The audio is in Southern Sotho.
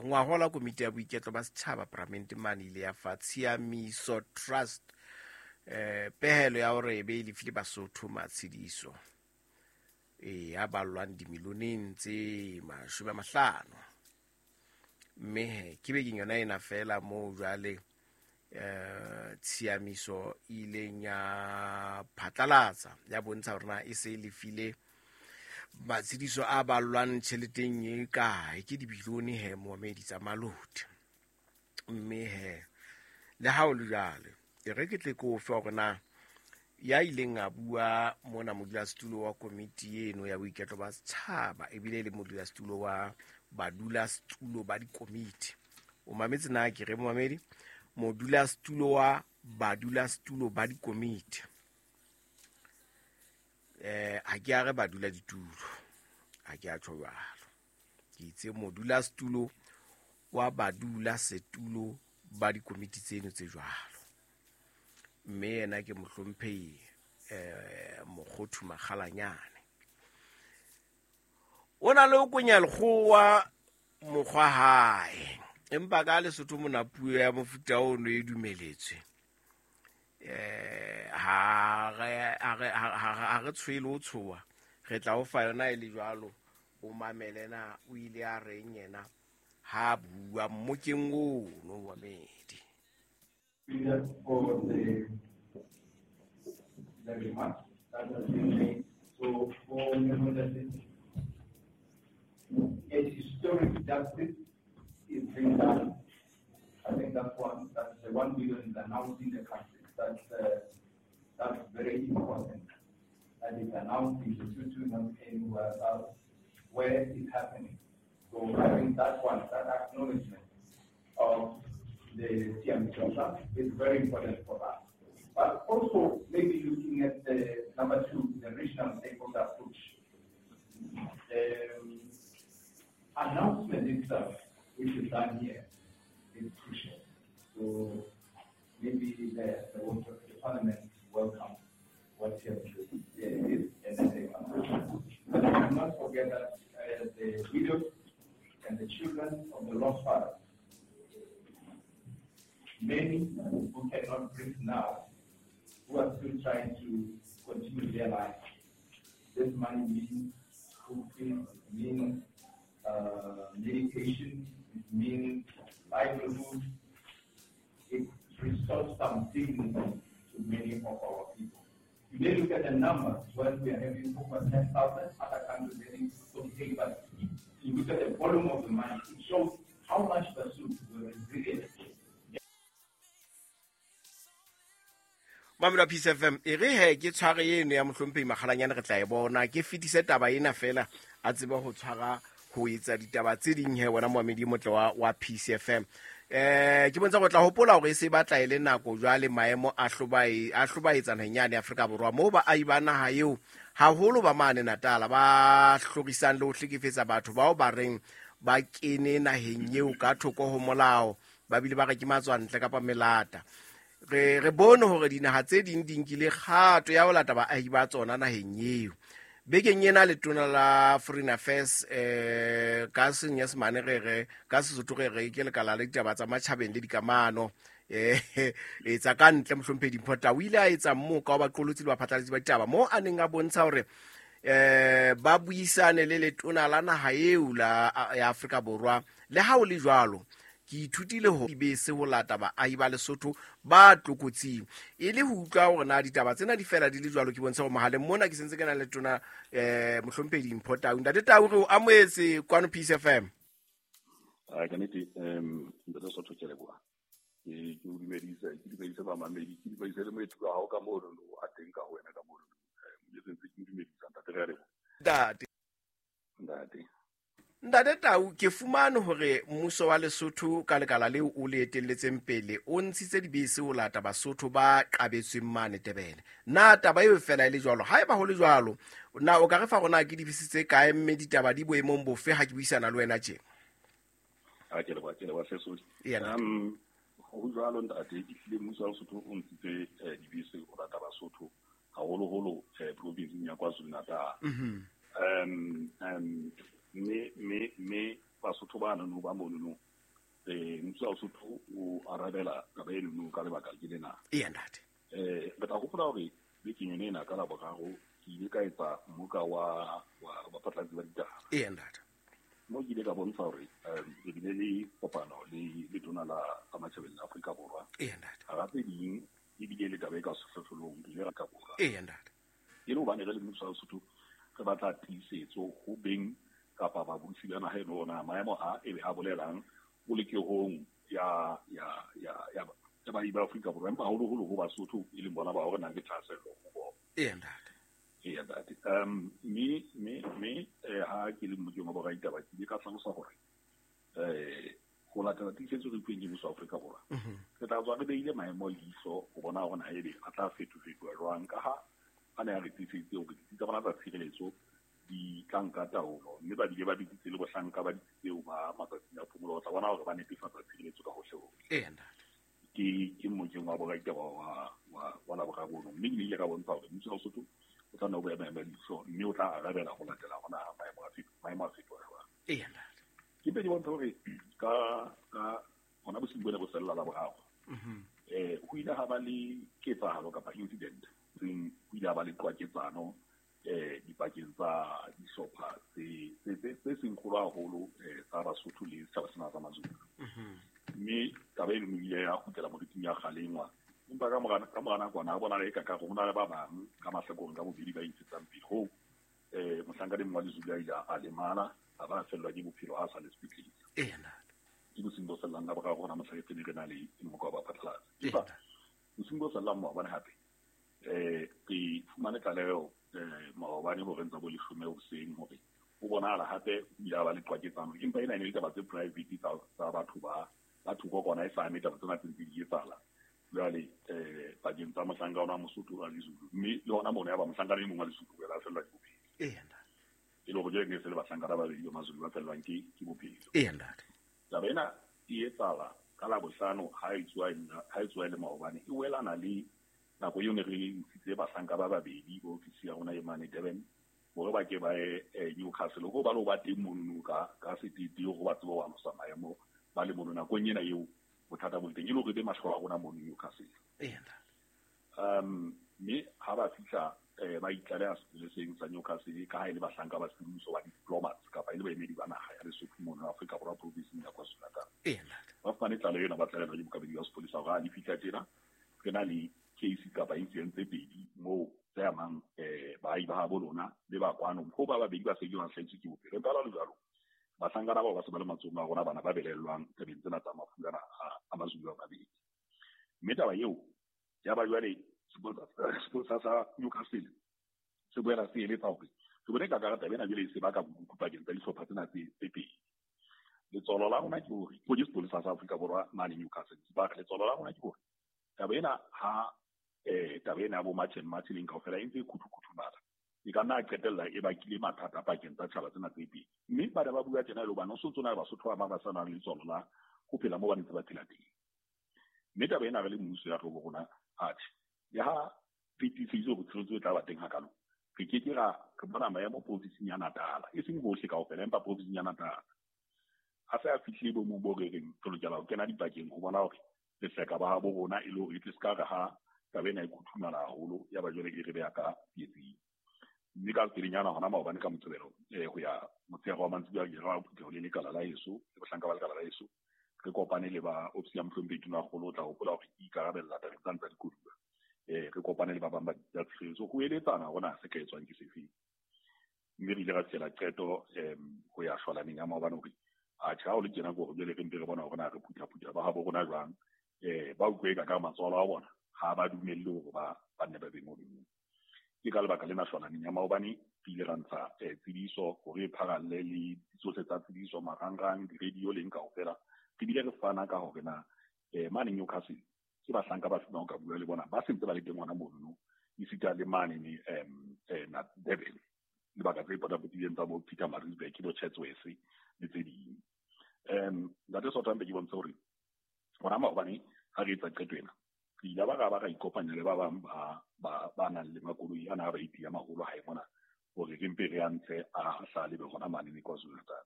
Ngwahola komiti ya boiketlo ba setjhaba paramente mane ile ya fa Tshiamiso Trust pehelo ya hore e be e lefile Basotho matshediso e a ballwang dimilioneng tse 50. Mme he ke bekeng yona ena fela moo jwale tshiamiso e ileng ya phatlalatsa ya bontsha hore na e se e lefile matshediso a ballwang tjheleteng e kae, ke dibilione he moamedi tsa maloti. Mme he le ha o le jwalo, e re ke tle ke o fe hore na ya ileng a bua mona modulasetulo wa komiti eno ya boiketlo ba setjhaba ebile e le modulasetulo wa badulasetulo ba dikomiti. O mametse na ke re momamedi? Modulasetulo wa badulasetulo ba dikomiti. Ha ke a re badula ditulo, ha ke a tjho jwalo. Ke itse modulasetulo wa badulasetulo ba dikomiti tseno tse jwalo. Mme yena ke mohlomphehi Mokgothu Makgalanyane. O na le ho konya lekgowa mokgwa hae, empa ka Lesotho mona puo ya mofuta ono e dumeletswe. Ha re tshwele ho tshoha, re tla o fa yona e le jwalo. O mamele na o ile a reng yena ha bua mmokeng ono wa medi. For the remarks that has been made. So for a historic justice is being done. I think that's one. That's the 1 billion is announced in the country. That's very important. That is announced in Lesotho, not anywhere else where it's happening. So I think that one, that acknowledgement of the Tshiamiso Trust is very important for us. But also maybe looking at the number 2, the regional stakeholder approach. The announcement itself, which is done here, is crucial. So maybe the Parliament welcome what Tshiamiso is, and then they come. But we must not forget that the widows and the children of the lost fathers, many who cannot breathe now, who are still trying to continue their life. This money means school fees, it means medication, it means livelihood. It restores some dignity to many of our people. You may look at the numbers when we are having over 10,000, other countries having 48, but if you look at the volume of the money, it shows how much pursuit were resilient. Mamela Peace FM, e re he ke tshware eno ya mohlomphehi Makgalanyane re tla e bona, ke fetise taba ena fela a tsebe ho tshwara ho etsa ditaba tse ding he wena moamedi motle wa Peace FM. Ke bontsha go tla hopola hore e se batla e le nako jwale maemo a hlobaetsa naheng yane Afrika Borwa moo baahi ba naha eo haholo ba mane Natal ba hlorisang le ho hlekefetsa batho bao ba reng ba kene naheng eo ka thoko ho molao, ba bile ba re ke matswantle kapa melata. Re bone hore dinaha tse ding di nkile kgato ya ho lata baahi ba tsona naheng eo. Bekeng ena letona la Foreign Affairs ka Senyesemane re re ka Sesotho re re ke lekala la ditaba tsa matjhabeng le dikamano etsa ka ntle mohlomphehi Dimpho Tau o ile a etsa mmoka wa baqolotsi le baphatlalatsi ba ditaba moo a neng a bontsha hore ba buisane le letona la naha eo la ya Afrika Borwa. Le ha ho le jwalo, ke ithutile ho dibese ho lata baahi ba Lesotho ba tlokotsing e le ho utlwa hore na ditaba tsena di fela di le jwalo. Ke bontshe hore mohaleng mona ke sentse ke na le tona mohlomphehi Dimpho Tau. Ntate Tau, re o amohetse kwano Peace FM. Ka nnete, ntate Sotho, ke a leboha. Ke o dumedisa, ke dumedise bamamedi, ke dumedise le moeti wa hao ka mono, a teng ka ho wena ka mono. Ke sentse ke dumedisa, ntate, re a leboha. Ntate. Ntate. Ntate Tau, ke fumane hore mmuso wa Lesotho ka lekala leo o le etelletseng pele o ntshitse dibese ho lata Basotho ba qabetsweng mane Durban. Na taba eo fela e le jwalo? Haeba ho le jwalo, na o ka re fa rona ke dibese tse kae mme ditaba di boemong bofe ha ke buisana le wena tje? Ha ke leboha, ke leboha Sesodi. Ho jwalo ntate, ehlile mmuso wa Lesotho o ntshitse dibese ho lata Basotho haholoholo provinseng ya KwaZulu-Natal. Mme Basotho ba nono ba monono Mmuso wa Lesotho o arabela taba eno ka lebaka ke lena. Eya ntate. Re tla hopola hore bekeng yone ena ka Laboraro ke ile ka etsa mmoka wa baphatlalatsi ba ditaba. Eya ntate. Mo ke ile ka bontsha hore re bile le kopano le letona la tsa matjhabeng la Afrika Borwa. Eya ntate. Hara tse ding ebile le taba e ka sehlohlolong re ile ra ka Borwa. Eya ntate. E le hobane re le mmuso wa Lesotho re batla tiisetso ho beng kapa babusi ba naha eno na maemo a ebe a bolelang polokehong ya baahi ba Afrika Borwa, empa haholoholo ho Basotho e leng bona bao re nang le thahasello ho bona. Eya ntate. Eya ntate. Mme ha ke le mmokeng wa boraditaba ke ile ka hlalosa hore ho latela tiisetso re fuweng ke mmuso wa Afrika Borwa, re tla tswa re behile maemo leihlo ho bona hore na ebe a tla fetofetoha jwang, ka ha a ne a re tiiseditse hore ditsi tsa bona tsa tshireletso di tla nka taolo, mme ba bile ba bitsitse le bohlanka ba ditsi tseo ba matsatsing a phomolo ho tla bona hore ba netefatsa tshireletso ka hohle-hohle. Eya ntate. Ke mmokeng wa boraditaba wa Laboraro ono, mme ke ile ka bontsha hore mmuso wa Lesotho o tla nna o beha maemo a leihlo, mme o tla arabela ho latela hona maemo a fetoha jwang. Eya ntate. Ke mpe ke bontsha hore ka hona bosiung bona bo sella Laboraro, ho ile ha ba le ketsahalo kapa incident, ho ile ha ba le qwaketsano dipakeng tsa dihlopha tse seng kgolo haholo tsa Basotho le setjhaba sena sa Mazulu. Mme taba eno e ile ya kgutlela moriting ya kgalengwa, empa ka mora nakwana ha bonahala eka ka hore ho na le ba bang ka mahlakoreng ka bobedi ba intshetsang pele hoo mohlankana e mong wa Lezulu a ile a lemala, a ba a fellwa ke bophelo ha a sa le sepetlele. Eya ntate. Ke bosiung bo sellang Laboraro hona mohla re ne re na le mmoka wa baphatlalatsi. Empa bosiung bo sellang maobane hape re fumane tlaleho maobane horeng tsa bo 10 hoseng hore ho bonahala hape ho ile ha ba le qwaketsano, empa ena e ne le taba tse private tsa batho ba thoko kona e sa ame taba tsena tse ntse di etsahala jwale pakeng tsa mohlanka ona wa Mosotho wa Lezulu, mme le hona mono ya ba mohlankana e mong wa Lesotho o ile a fellwa ke bophelo. Eya ntate. E le hore jwale ne se le bahlankana ba babedi ba Mazulu ba fellwang ke bophelo. Eya ntate. Taba ena e etsahala ka Labohlano ha e tsoha e le maobane, e welana le nako eo ne re ntshitse bahlanka ba babedi ba ofisi ya rona e mane Durban hore ba ke ba ye Newcastle, ho ba lo ba teng mono ka setete hore ba tsebe ho alosa maemo ba le mono nakong ena eo bothata bo le teng, e le hore be mahlo a rona mono Newcastle. Eya ntate. Mme ha ba fihla ba itlaleha sepoleseng sa Newcastle, ka ha e le bahlanka ba semmuso ba diplomats kapa e le baemedi ba naha ya Lesotho mono Afrika Borwa provinseng ya KwaZulu-Natal. Eya ntate. Ba fumane tlaleho ena, ba tlalehela ke bookamedi ba sepolesa hore ha le fihla tjena re na le case kapa incident tse pedi moo tse amang baahi ba habo lona le ba kwano, ho ba babedi ba se ke ba hlahetswe ke bophelo. Empa jwalo jwalo bahlankana bao ba se ba le matsohong a rona bana ba belellwang tabeng tsena tsa mafu ana a Mazulu a mabedi. Mme taba eo ya ba jwale sepolesa sa Newcastle se boela se eletsa hore re bone ka taba ena jwale e se baka bokuku pakeng tsa dihlopha tsena tse pedi. Letsolo la rona ke hore ke sepolesa sa Afrika Borwa mane Newcastle, ba re letsolo la rona ke hore taba ena ha taba ena ya bo March and March leng kaofela e ntse e khuthukhuthu e ka nna qetella e bakile mathata pakeng tsa tjhaba tsena tse pedi. Mme ba ne ba bua tjena e le hobane ho sontso na le Basotho ba bang ba sa nang le letswalo la ho phela moo ba ntse ba phela teng. Mme taba ena re le mmuso ya rona atjhe, le ha re tiiseditse hore tshireletso e tla ba teng hakalo, re ke ke ra re bona maemo provinseng ya Natal, e seng hohle kaofela, empa provinseng ya Natal a se a fihlile boemong bo re reng re lokela ho kena dipakeng ho bona hore re hleka ba habo rona, e le hore e tle se ka re ha taba ena e khuthumala haholo ya ba jwale e re beha ka tsietsing. Mme ka pelenyana hona maobane ka Moqebelo ho ya motshehare wa mantsiboya ke ra phutheho le lekala la heso le bohlanka ba lekala la heso, re kopane le ba ofisi ya mohlomphehi Tonakgolo, o tla hopola hore ke ikarabella tabeng tsane tsa dikoduwa. Re kopane le ba bang ba ditsi tsa tshireletso ho eletsana hore na se ka etswang ke sefeng. Mme re ile ra fihlela qeto ho ya shwalaneng ya maobane hore atjhe ha o le tjena ke hore jwale re mpe re bona hore na re phuthaphutha ba habo rona jwang, ba utlwe ka ka matswalo a bona ha ba dumelle hore ba nne ba be mono. Ke ka lebaka lena shwalaneng ya maobane re ile ra ntsha tsebiso hore e pharalle le tsohle tsa tsebiso, marangrang, di-radio leng kaofela. Re bile re fana ka hore na mane Newcastle ke bahlanka ba fumang ka bua le bona ba sentse ba le teng hona mono, esita le mane Durban, lebaka tse potapotileng tsa bo Pietermaritzburg, bo Chatsworth le tse ding. Ntate Sotho, mpe ke bontshe hore hona maobane ha re etsa qeto ena, re ile ba ra ikopanya le ba bang ba nang le makoloi ana a ba iti ya maholo hae mona, hore re mpe re a ntshe a hlale be hona mane KwaZulu-Natal.